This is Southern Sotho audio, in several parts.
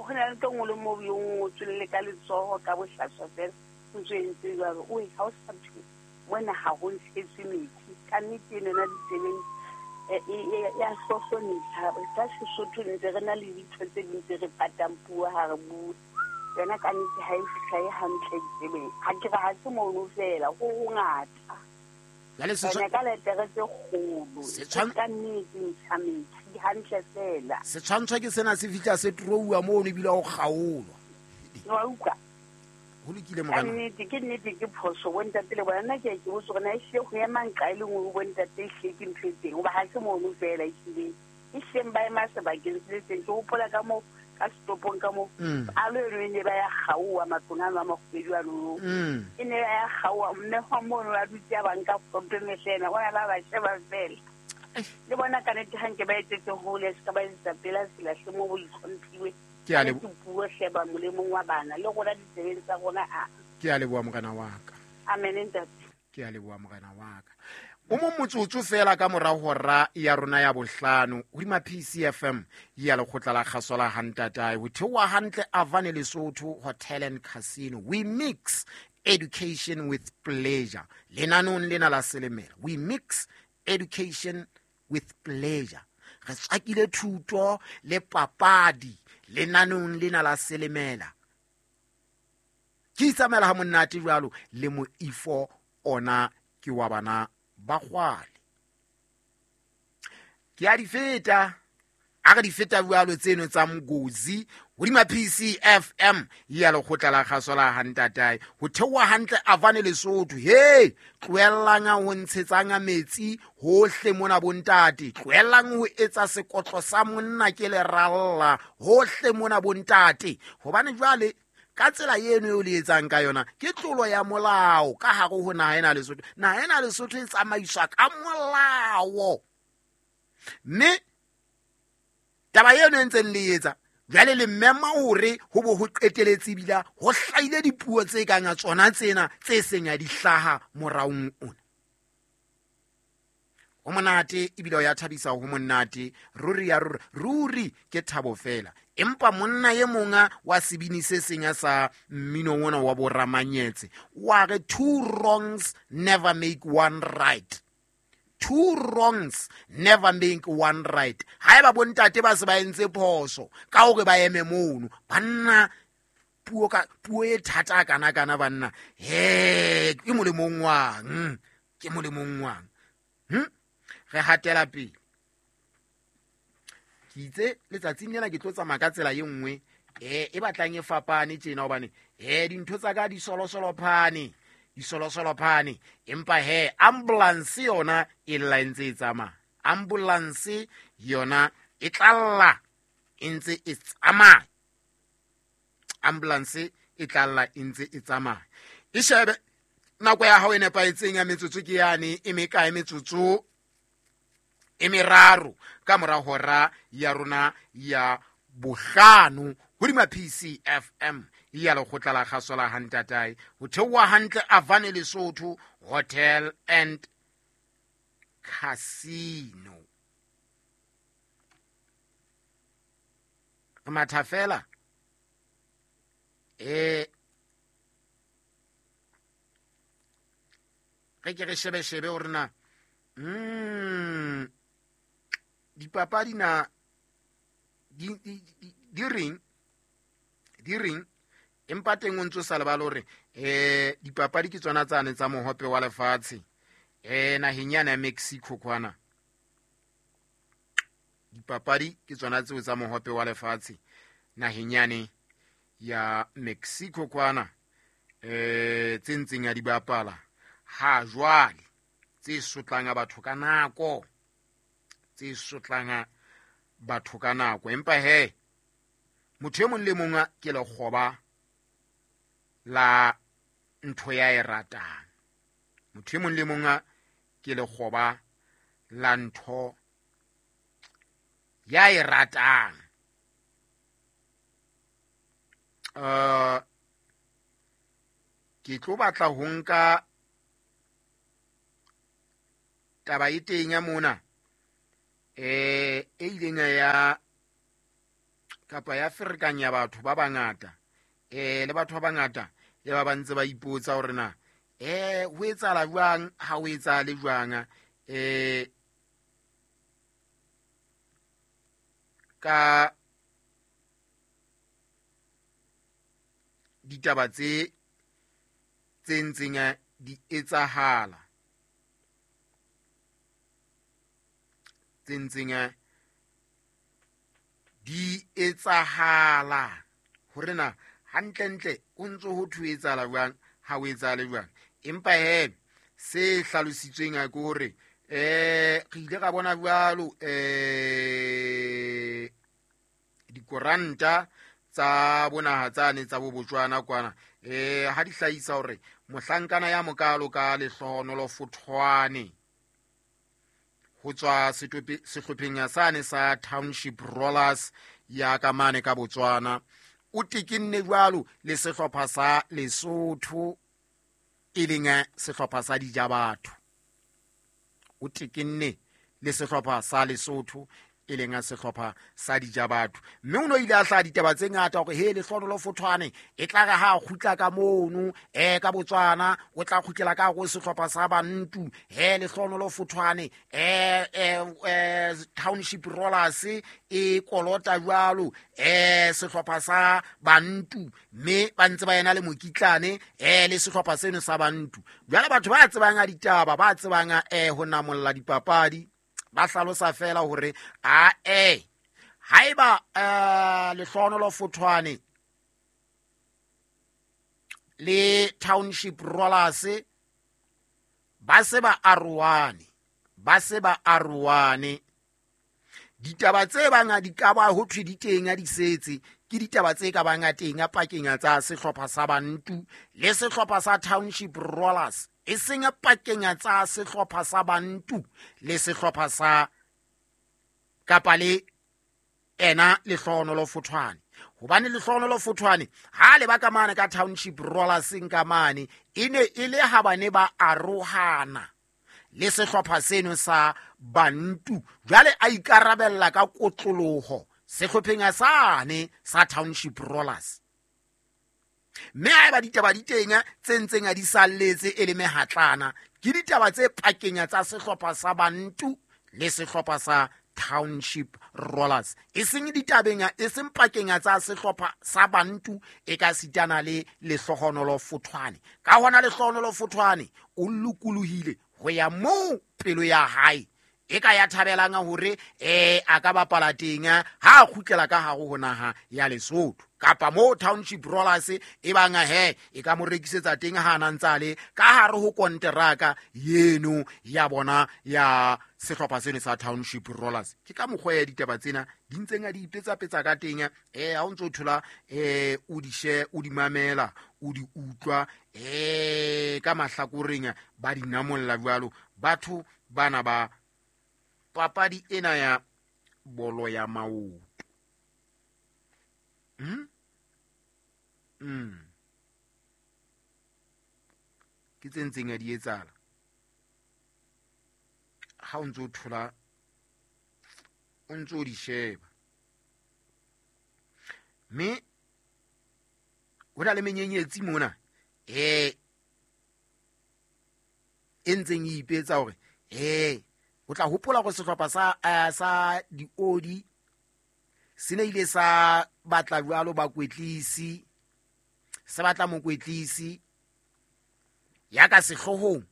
Go na le ntho nngwe le mo yo ngotsweng le ka letsogo ka bohlaswa fela o ntse o entse jwalo. Oe, ha o sa thwe mona ha ho ntshetswe metsi. Ka nnete eno yona ditsebeng ya hlohlonisa. Ka Sesotho ntse re na le dintho tse ding tse re patang puo ha re bua. Yona ka nnete ha e hlahe hantle ditsebeng. Ha ke re ha se mono fela, ho hongata. Jwale Ene ka letere tse kgolo. Ka nnete ntsha metsi hantle fela. Setshwantsho ke sena se fihla se trouwa mono ebile ho kgaolwa. Wa utlwa? Ho lokile Ka morena. nnete, ke nnete ke phoso bontate le bona. Nna ke a ke botse hore na ehlile ho ema nqa e le nngwe ho bontate ehlile ke ntho e teng. Hoba ha se mono fela ehlile. Ehlileng ba ema sebakeng se le seng. Ke hopola ka moo ka setopong ka moo. Alo eno e ne ba ya kgaoha matlong ano a makgubedu ano. E ne ba ya kgaoha mme hwa mono a dutse a ba nka foto mehlena. Ona ba ba sheba fela. Le bona ka nnete ha nke ba etsetse hole se ka ba etsetsa pela tsela hle mo bo itlhomphiwe. Ke a Ka nnete puo hle ba molemong wa bana le rona ditsebeng tsa rona a. Ke a leboha morena wa ka. Amen ntate. Ke a leboha morena wa ka. O mong motsotso fela ka mora hora ya rona ya bohlano hodima PCFM ya lekgotla la kgaso la Hantatae ho theoha hantle Avane Lesotho Hotel and Casino. We mix education with pleasure. Lenanong lena la Selemela. We mix education with pleasure. Re tswakile thuto le papadi lenanong lena la Selemela. Ke itsamaela ha monate jwalo le moifo ona ke wa bana ba kgwale. Ke a di feta, a re di feta jwalo tseno tsa Mgozi hodima PCFM ya lekgotla la kgaso la Hantatae ho theoha hantle Avane Lesotho. He, tlohellang ho ntshetsang metsi hohle mona bontate, tlohellang ho etsa sekotlo sa monna ke leralla hohle mona bontate, hobane jwale ka tsela eno eo le etsang ka yona ke tlolo ya molao ka hare ho naha ena Lesotho. Naha ena Lesotho e tsamaiswa ka molao, mme taba eno e ntseng le etsa jwale le mema hore ho bo ho qeteletse ebile ho hlahile dipuo tse kang ya tsona tsena tse seng ya di hlaha moraong ona. Ho monate ebile ho ya thabisa, ho monate ruri ya ruri, ruri ke thabo fela. Empa monna e monga wa sebini se seng sa mmino ona wa bo Ramanyetse wa re two wrongs never make one right. Two wrongs never make one right. Haeba bontate ba se ba entse phoso ka hore ba eme mono, banna puo ka puo e thata kana kana banna, he ke molemong wang, ke molemong wang. Re hatela pele. Ke itse letsatsing lena ke tlo tsamaya ka tsela e nngwe, e batlang e fapane tjena, hobane, dintho tsa ka di solosolo phane, di solosolo phane. Empa he, ambulance yona e lla e ntse e tsamaya. Ambulance yona e tla lla e ntse e tsamaya. Ambulance e tla lla e ntse e tsamaya. E shebe nako ya hao e nepahetseng ya metsotso ke yane, e mekae metsotso e meraro ka mora hora ya rona ya bohlano hodima PCFM ya lekgotla la kgaso la Hantatae ho theoha hantle Avane Lesotho Hotel and Casino. Re matha fela. Re ke re shebe-shebe hore na, dipapadi na di reng, di reng, empa teng o ntso sa lebale hore, dipapadi ke tsona tsane tsa mohope wa lefatshe, naheng yana ya Mexico kwana. Dipapadi ke tsona tseo tsa mohope wa lefatshe naheng yane ya Mexico kwana, tse ntseng ya di bapala ha jwale, tse sotlang batho ka nako, tse sotlang batho ka nako. Empa he, motho e mong le mong ke lekgoba la ntho ya e ratang. Motho e mong le mong ke lekgoba la ntho ya e ratang. Ke tlo batla ho nka taba e teng ya mona, e ileng ya Kapa ya ferekanya batho ba bangata, le batho ba bangata le ba ba ntse ba ipotsa hore na ho etsahala jwang, ha ho etsahale jwang, ka ditaba tse ntseng di etsahala, tse ntseng di etsahala, hore na hantlentle o ntso ho thwe etsahala jwang, ha o etsahale jwang. Empa he se hlalositsweng ke hore re ile ra bona jwalo dikoranta tsa bonaha tsane tsa bo Botswana kwana, ha di hlahisa hore mohlankana ya mokalo ka Lehlohonolo Fothwane ho tswa sehlopheng sane sa Township Rollers ya ka mane ka Botswana, o tekenne jwalo le sehlopha sa Lesotho, e leng sehlopha sa Dijabatho. O tekenne le sehlopha sa Lesotho, e leng sehlopha sa Dijabatho. Mme o no ile a hlaha ditaba tse ngata hore he Lehlohonolo Fothwane e tla re ha a kgutla ka mono, ka Botswana, o tla kgutlela ka hare ho sehlopha sa Bantu. He Lehlohonolo Fothwane, Township Rollers e kolota jwalo, sehlopha sa Bantu, mme ba ntse ba ena le mokitlane, le sehlopha seno sa Bantu. Jwale batho ba tsebang a ditaba, ba tsebang ho namolla dipapadi, ba hlalosa fela hore a haeba Lehlohonolo Fothwane le Township Rollers ba se ba arohane, ba se ba arohane, ditaba tse bang di ka ba ho thwe di teng a di setse, ke ditaba tse ka bang a teng a pakeng tsa sehlopha sa Bantu le sehlopha sa Township Rollers, e seng pakeng tsa sehlopha sa Bantu le sehlopha sa kapa le ena Lehlohonolo Fothwane. Hobane Lehlohonolo Fothwane ha le ba ka mane ka Township Rollers ka mane, e ne e le ha bane ba arohana le sehlopha seno sa Bantu, jwale a ikarabella ka kotloloho sehlopheng sane sa Township Rollers. Mme haeba ditaba di teng tse ntseng a di salletse e le mehatlana, ke ditaba tse pakeng tsa sehlopha sa Bantu le sehlopha sa Township Rollers, e seng ditabeng, e seng pakeng tsa sehlopha sa Bantu e ka sitana le Lehlohonolo Fothwane. Ka hona Lehlohonolo Fothwane o lokolohile ho ya moo pelo ya hae e ka ya thabelang hore a ka bapala teng ha a kgutlela ka hare ho naha ya Lesotho, kapa moo Township Rollers e bang he e ka mo rekisetsa teng ha a ntse a le ka hare ho konteraka yeno ya bona ya sehlopha seno sa Township Rollers. Ke ka mokgwa ya ditaba tsena di ntseng a di ipetsapetsa ka teng, ha o ntso thola, o di she, o di mamela, o di utlwa, ka mahlakoreng ba di namolla jwalo batho bana ba papadi ena ya bolo ya maoto. Ke tse ntseng a di etsahala ha o ntso thola, o ntso di sheba. Mme ho na le menyenyetsi mona, e ntseng e ipetsa hore o tla hopola hore sehlopha sa Diodi se ne ile sa batla jwalo bakwetlisi, se batla mokwetlisi ya ka sehloohong,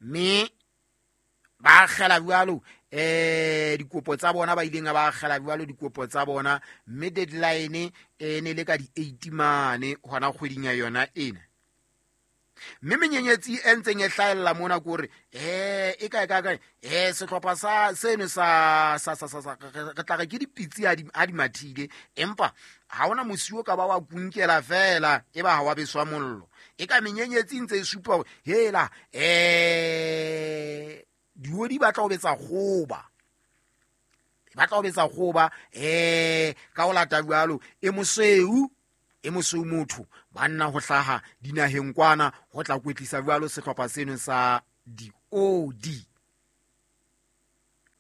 mme ba akgela jwalo dikopo tsa bona, ba ileng ba akgela jwalo dikopo tsa bona, mme deadline e ne le ka di 8 mane hona kgweding ya yona ena. Mme menyenyetsi e ntseng e hlahella mona ke hore e kae kae kae, sehlopha sa seno sa sa sa sa re tla re ke dipitsi ha di mathile, empa ha hona mosiwo ka ba wa kunkela fela e ba ha wa beswa mollo. E ka menyenyetsi ntse e supa hore hela diodi ba tla ho betsa kgoba, ba tla ho betsa kgoba ka ho lata jwalo e mosweu, e mosweu motho banna ho hlaha dinaheng kwana ho tla kwetlisa jwalo sehlopha seno sa Diodi.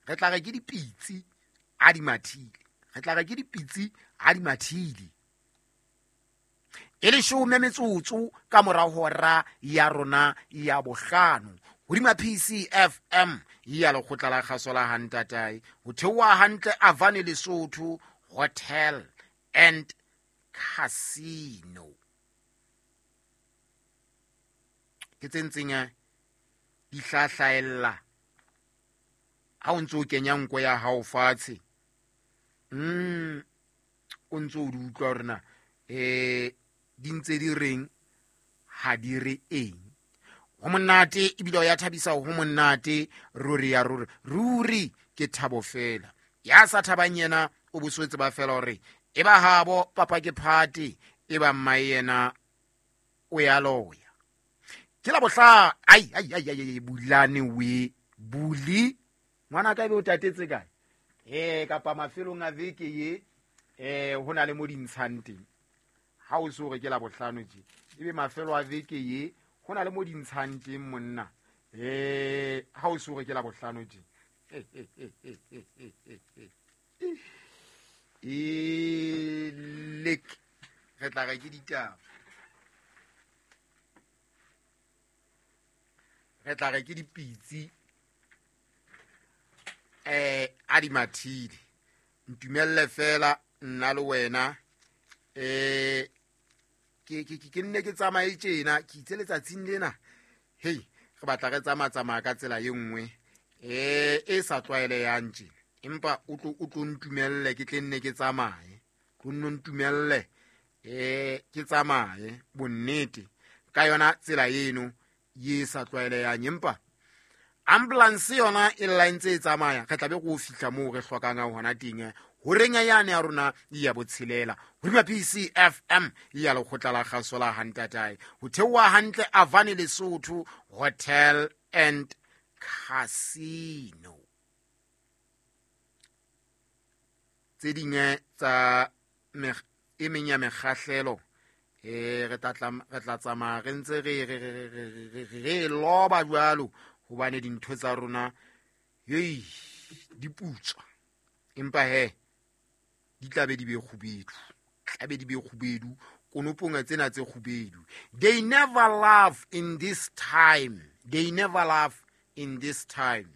Re tla re ke dipitsi a di mathile, re tla re ke dipitsi a di mathile. E leshome metsotso ka mora hora ya rona ya bohlano hodima PCFM ya lekgotla la kgaso la hantatae, ho theoha hantle Avane Lesotho Hotel and Casino. Ke tse ntseng di hlahlaella ha o ntso o kenya nko ya hao fatshe, o ntso o di utlwa hore na di ntse di reng, ha di re eng. Ho monate ebile o ya thabisa, ho monate ruri ya ruri ruri, ke thabo fela. Ya sa thabang yena o boswetse ba fela hore e ba habo papa ke phate, e ba mmae yena o ya loya. Ke la bohla ai ai ai ai, bulane we buli ngwana ka be o tatetse kae, kapa mafelong a veke ye, ho na le mo dintshang teng. Ha o so re ke la bohlano tje, ebe mafelo a veke ye ho na le mo dintshang teng monna, ha o so re ke la bohlano tje. Lek re tla re ke ditaba, re tla re ke dipitsi, a di mathile. Ntumelle fela nna le wena, ke nne ke tsamaye tjena, ke itse letsatsing lena, hei, re batla re tsamaya ka tsela e nngwe e sa tlwaelehang tjena, empa o tlo ntumelle ke tle nne ke tsamaye, tlo nno ntumelle ke tsamaye bonnete ka yona tsela eno ye sa tlwaelehang. Empa ambulance yona e lla ntse e tsamaya, re tla be go fihla moo re hlokang hona teng. Horeng yane ya rona ya botshelela hodima PCFM ya lekgotla la kgaso la hantatae, ho theoha hantle Avane Lesotho Hotel and Casino. Tse ding tsa e meng ya mekgahlelo, re tla tsamaya re ntse re loba jwalo, hobane dintho tsa rona hei di putswa, empa he di tla be di be kgubedu, tla be di be kgubedu konopong tsena tse kgubedu. They never laugh in this time, they never laugh in this time.